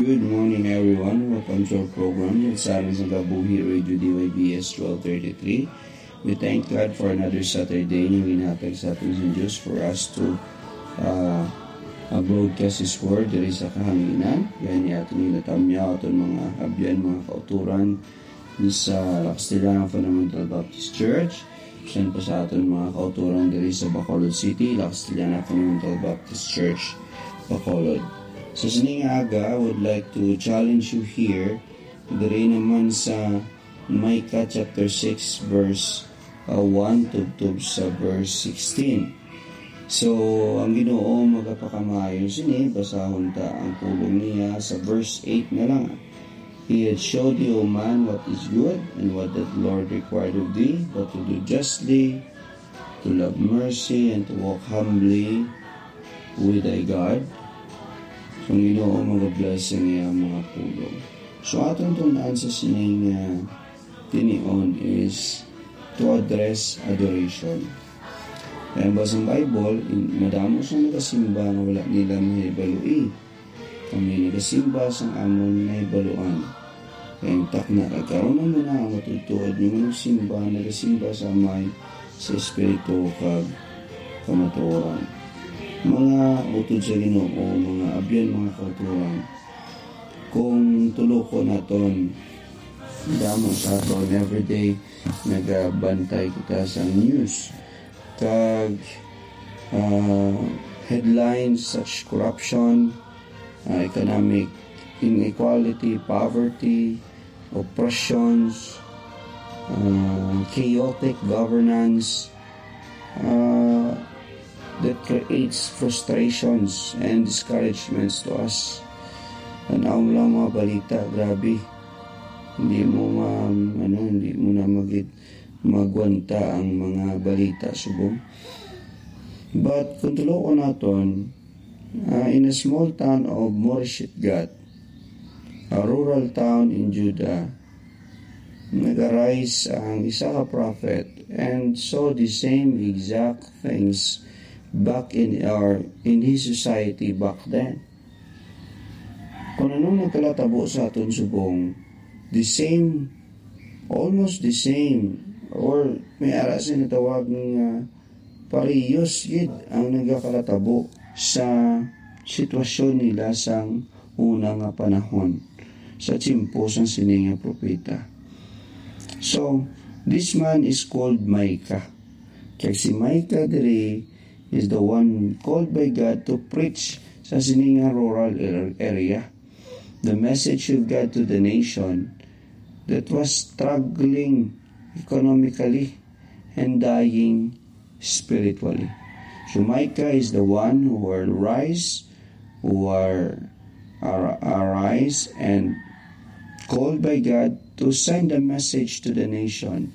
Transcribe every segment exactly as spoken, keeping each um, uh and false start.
Good morning, everyone. Welcome to our program, Mensahe sa Kabuhi, Radio D Y B S twelve thirty-three. We thank God for another Saturday nga ginhatag sa aton sa Diyos for us to, uh, uh, broadcast His Word diri sa kahanginan. Gani aton ginatamyaw aton mga abyan, mga kauturan sa La Castellana Fundamental Baptist Church. Send pa sa aton mga kauturan diri sa Bacolod City, La Castellana Fundamental Baptist Church, Bacolod. Sa sining aga, I would like to challenge you here, diri naman sa Micah chapter six, verse, uh, one, tubtob sa verse sixteen. So, ang Ginoo magapakamaayo sini, basahon ta ang pulong niya sa verse eight na lang. He had showed you, O man, what is good and what the Lord required of thee, but to do justly, to love mercy, and to walk humbly with thy God. So, ang Ginoo mag-bless sa iyang mga pulong. So, aton tun-an sa sining, ah, tinion is to address adoration. Kaya ang basang Bible, in-, madamo sang nagasimba nga wala nila mahibaloi. Kami nagasimba sang amon nahibaluan. Kaya ang takna, kag karon na muna ang matutuod nga nagsimba, nagasimba sa Amay sa Espiritu kag kamatuoran. Mga utod sa Ginoo, mga abyan, mga kauturan, kung tulokon naton, damo sa aton, everyday nagabantay kita sa news. Kag, ah, headlines such corruption, ah, economic inequality, poverty, oppressions, ah, chaotic governance, ah, that creates frustrations and discouragements to us. Tan-aw mo lang mga balita, grabe. Hindi mo ma-, ano, hindi mo na magid-, magwanta ang mga balita subong. But kung tulokon naton, ah, in a small town of Moresheth-gath, a rural town in Judah, nag-arise ang isa ka prophet and saw the same exact things back in our, in his society back then. Kung anong nagkalatabo sa aton subong, the same, almost the same, or may ara sila tawag nga parehas gid ang nagakalatabo sa sitwasyon nila sang una nga panahon, sa tiyempo sang sini nga propeta. So, this man is called Micah. Kag si Micah diri is the one called by God to preach sa sini nga rural er-, area. The message of God to the nation that was struggling economically and dying spiritually. So Micah is the one who will rise, who are, are arise and called by God to send a message to the nation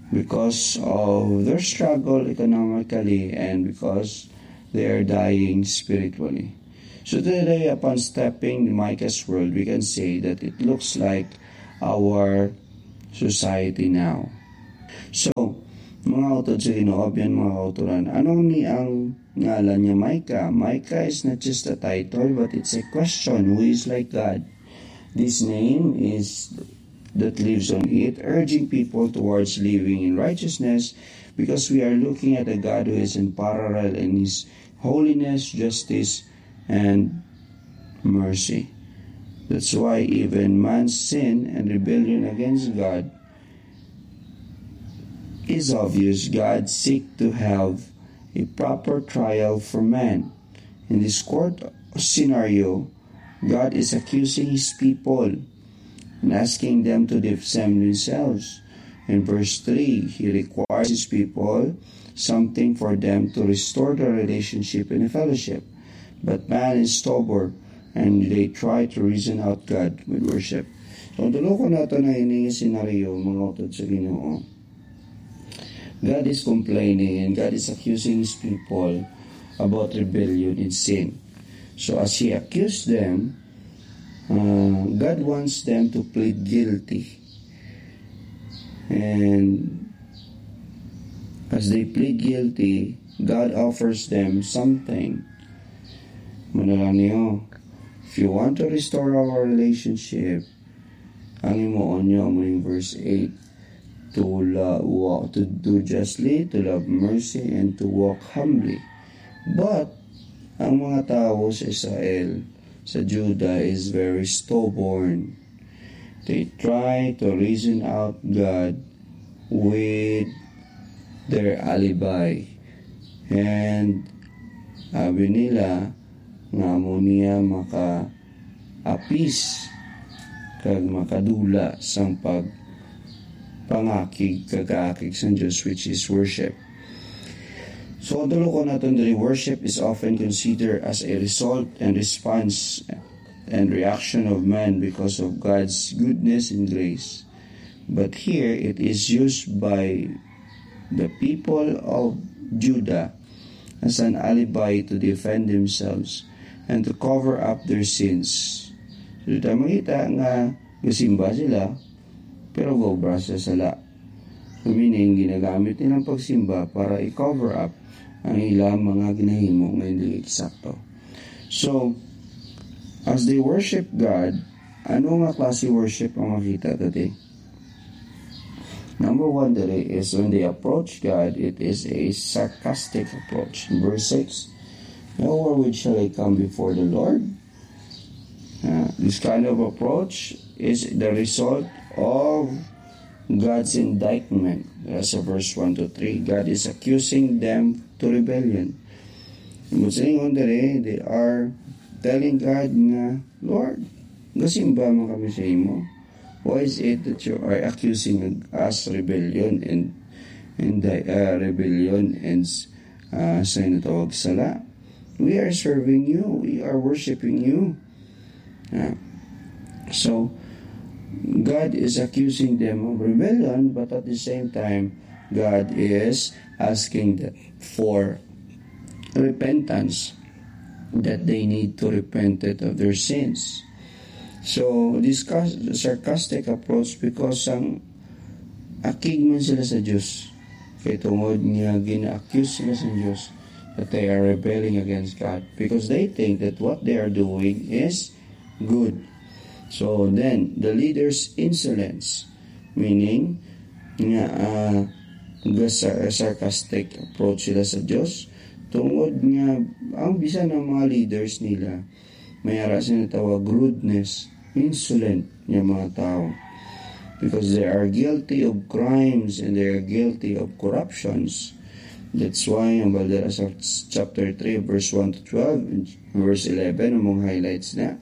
because of their struggle economically and because they are dying spiritually. So today, upon stepping in Micah's world, we can say that it looks like our society now. So, mga utod sa Ginoo, abyan, mga kauturan, ano ni ang ngalan niya Micah? Micah is not just a title, but it's a question. Who is like God? This name is that lives on it, urging people towards living in righteousness, because we are looking at a God who is unparalleled in his holiness, justice, and mercy. That's why even man's sin and rebellion against God is obvious. God seek to have a proper trial for man. In this court scenario, God is accusing his people and asking them to defend themselves. In verse three, he requires his people something for them to restore their relationship and fellowship. But man is stubborn, and they try to reason out God with worship. So, tulokon nato na ini nga senaryo, mga utod sa Ginoo. God is complaining and God is accusing his people about rebellion and sin. So, as he accused them, uh, God wants them to plead guilty. And as they plead guilty, God offers them something. Muna lang niyo, if If you want to restore our relationship, ang himuon nyo amo ning verse eight, to la-, walk, to do justly, to love mercy, and to walk humbly. But ang mga tawo sa Israel, sa Judah, is very stubborn. They try to reason out God with their alibi. And sabi nila nga amo niya maka-appease kag makadula sang pagpangakig kag kaakig sang Dios, which is worship. So, ang tulo ko naton diri, worship is often considered as a result and response and reaction of man because of God's goodness and grace. But here, it is used by the people of Judah as an alibi to defend themselves and to cover up their sins. So, dito makita nga gasimba sila, pero gaobra sa sala. Meaning, ginagamit nilang pagsimba para i-cover up ang ilang mga ginahimo nga hindi eksakto. So, as they worship God, ano nga klase worship ang makita today? Number one, diri is when they approach God, it is a sarcastic approach. Verse six, "Now wherewith shall I come before the Lord?" Uh, this kind of approach is the result of God's indictment. That's a verse one to three. God is accusing them to rebellion. Ang silingon diri, they are telling God nga, "Lord, gasimba man kami sa imo. Why is it that you are accusing us rebellion and, and uh, rebellion and uh, sa inatawag sala? We are serving you. We are worshiping you." Uh, so, God is accusing them of rebellion, but at the same time, God is asking them for repentance, that they need to repent it of their sins. So, this cas-, sarcastic approach, because sang akig man sila sa Dios, kay tungod nga gina-accuse sila sa Dios that they are rebelling against God, because they think that what they are doing is good. So then, the leader's insolence, meaning nga uh, sarcastic approach sila sa Dios, tungod nga ang bisan ang mga leaders nila, may ara sila tawag rudeness, insolent nga mga tao, because they are guilty of crimes and they are guilty of corruptions. That's why ang Balderas of chapter three, verse one to twelve, and verse eleven, ang mga highlights na.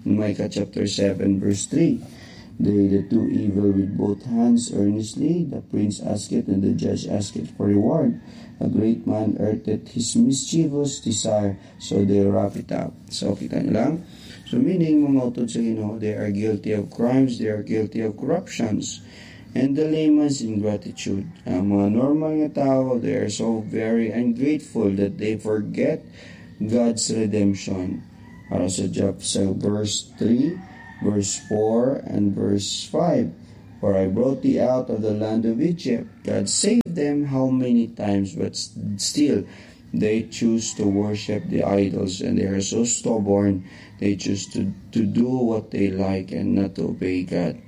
In Micah chapter seven, verse three, "They that do evil with both hands earnestly, the prince asketh, and the judge asketh for reward. A great man earneth his mischievous desire, so they wrap it up." So, kita niyo lang. So, meaning, mga utod sa Ginoo, they are guilty of crimes, they are guilty of corruptions, and the layman's ingratitude. Ang mga normal nga tao, they are so very ungrateful that they forget God's redemption. Para sa Job, sa verse three, verse four, and verse five, "For I brought thee out of the land of Egypt." God saved them how many times, but s-, still, they choose to worship the idols, and they are so stubborn, they choose to, to do what they like and not to obey God.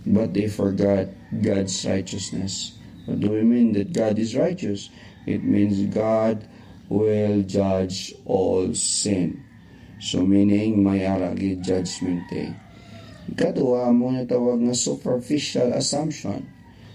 But they forgot God's righteousness. What do we mean that God is righteous? It means God will judge all sin. So, meaning, may ara gid judgment day. Ikadua, amo na tawag nga superficial assumption.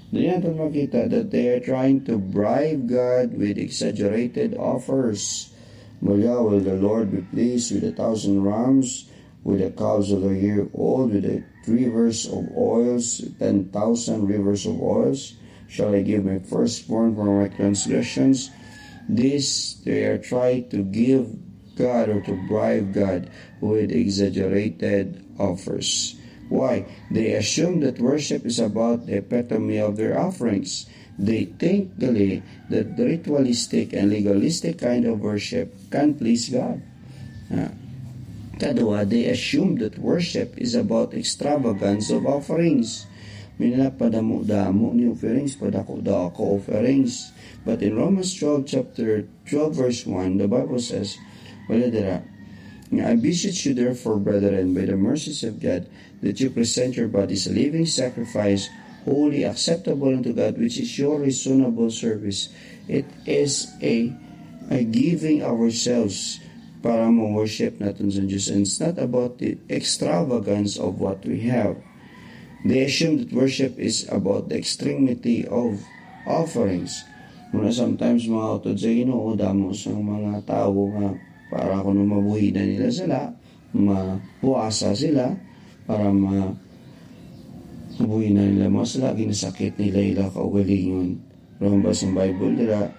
Dili naton makita that they are trying to bribe God with exaggerated offers. Mulya, "Will the Lord be pleased with a thousand rams, with the calves of a year old, with the rivers of oils, ten thousand rivers of oils? Shall I give my firstborn for my transgressions?" This, they are trying to give God or to bribe God with exaggerated offers. Why? They assume that worship is about the epitome of their offerings. They think gali that the ritualistic and legalistic kind of worship can please God. Ah, kadua, they assume that worship is about extravagance of offerings. May na padamo-damo ni offerings, padako-dako offerings. But in Romans twelve, chapter twelve, verse one, the Bible says, wala dira, Nga, I beseech you therefore, brethren, by the mercies of God, that you present your bodies a living sacrifice, holy, acceptable unto God, which is your reasonable service. It is a, a giving ourselves para mo worship naton sa Diyos. And it's not about the extravagance of what we have. They assume that worship is about the extremity of offerings. Muna sometimes mga utod sa Ginoo, damo sa mga tawo nga para kuno mabuhi na nila sila, mapuasa sila, para ma mabuhi na nila mga sila, ginasakit nila ila kaugalingon. Pero ang basang Bible dira,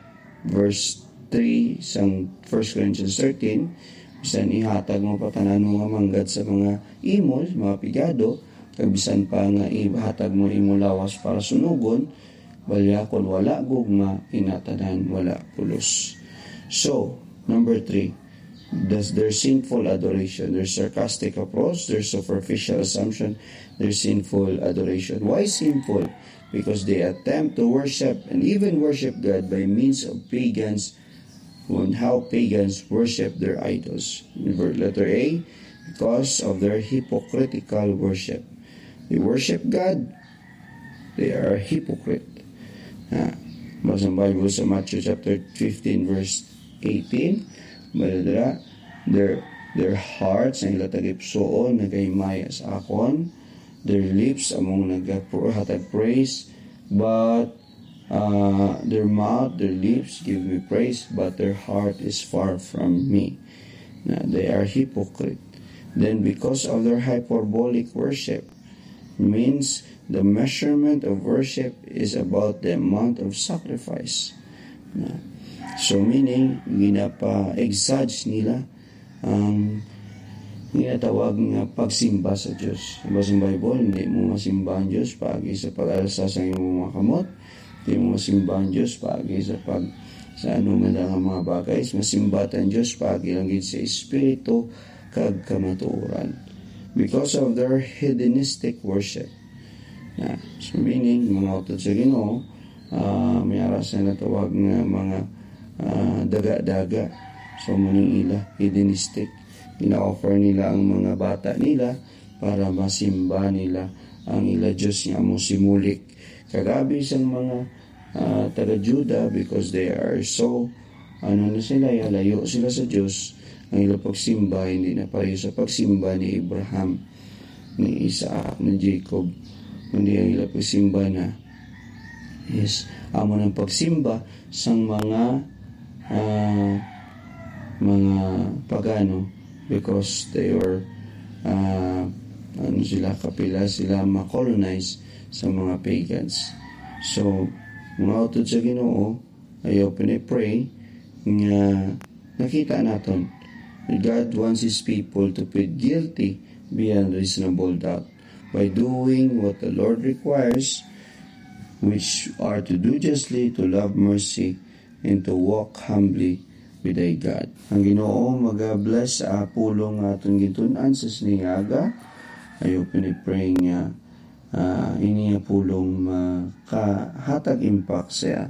verse three sang First Corinthians thirteen, bisan ihatag mo pa tanan mo nga manggad sa mga imol, mga pigado, kag bisan pa nga ihatag mo imo lawas para sunugon, balya kon wala gugma, inatanan wala pulos. So, number three, that's their sinful adoration, their sarcastic approach, their superficial assumption, their sinful adoration. Why sinful? Because they attempt to worship and even worship God by means of pagans, on how pagans worship their idols. Letter A, because of their hypocritical worship. They worship God, they are hypocrite. Ah, basang Bible sa Matthew chapter fifteen, verse eighteen, bala dira, their, their hearts, ang ila tagipsuon, nagahimaya sa akon, their lips among nagahatag praise, but uh, their mouth, their lips give me praise, but their heart is far from me. Na they are hypocrite. Then because of their hyperbolic worship, means the measurement of worship is about the amount of sacrifice. Na, so meaning, ginapa-exage nila ang ginatawag nga pagsimba sa Diyos. Sa basang Bible, hindi mo masimba ang Diyos paagi sa pag-alsa sa imong mga kamot. Hindi mo masimba ang Diyos paagi sa pag, sa ano man lang ang mga bagay. Masimba ta ang Diyos paagi lang gid sa espiritu kag kamatuoran. Because of their hedonistic worship. Na, so meaning, mga utod sa Ginoo, ah, may ara sa natawag nga mga, ah, daga-daga. So, muning ila, hedonistic. Gina-offer nila ang mga bata nila para masimba nila ang ila Diyos nga amo si Molech. Kag abi sang mga, ah, taga-Juda, because they are so, ano na sila, ya, layo sila sa Diyos, ang ila pagsimba hindi na pareho sa pagsimba ni Abraham, ni Isaac, ni Jacob. Kundi ang ila pagsimba na is amo ng pagsimba sang mga, ah, mga pagano, because they were, ah, ano sila, kapila sila ma-colonize sa mga pagans. So, mga utod sa Ginoo, I hope and I pray nga nakita naton that God wants His people to plead guilty beyond reasonable doubt by doing what the Lord requires, which are to do justly, to love mercy, and to walk humbly with thy God. Ang Ginoo mag-bless sa pulong nga aton gintun-an sa sining aga. I hope and I pray nga, ah, ini nga pulong makahatag impact sa